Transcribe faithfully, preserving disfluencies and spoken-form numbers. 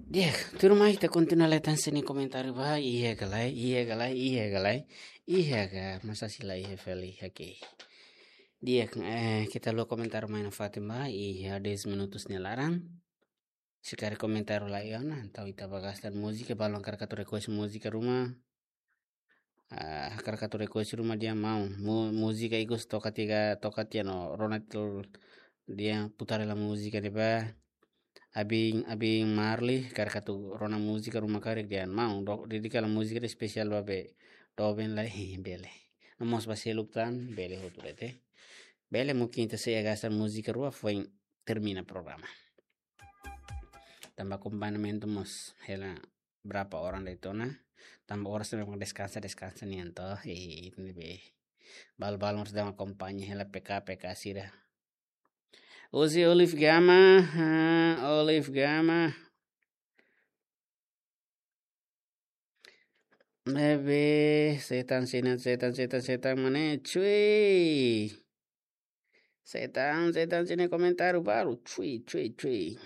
Di'ak, tuirmai ita kontinua lee tan sira-nia komentáriu ba, iha ka lae, iha ka lae, iha ka lae, iha ka, masa sira la iha fali, oke. Di'ak, eh, ita lee komentáriu mai nafatin ba, iha dez minutos nia laran. Se karik komentáriu la iha ona, entaun ita bá gasta múzika, balu hakarak atu request múzika ruma. Ah, hakarak atu request ruma dehan maun. Mu-, múzika ikus toka tiha, toka tiha no Ronald dehan putar hela múzika ne'ebá. Abin, Abin Marli, hakarak atu rona múzika ruma karik dehan maun. Do, dedika hela múzika ne'e espesiál ba be doben lai, bele. No mós ba seluk tan, bele hotu de'it. Bele mungkin ita sei gasta múzika rua foin termina programa. Tanba akompañamentu mós hela berapa orang de'it ona. Tanba oras ne'e memang deskansa, deskansa nian to. Eh, itu ne'ebé. Balu-balu harus dang akompaña hela P K, P K sira. Husi Olive Gama, ha, Olive Gama. Ne'ebé, setan sini, setan, setan, setan mana, cuy. Setan, setan sini komentáriu baru, cuy, cuy, cuy.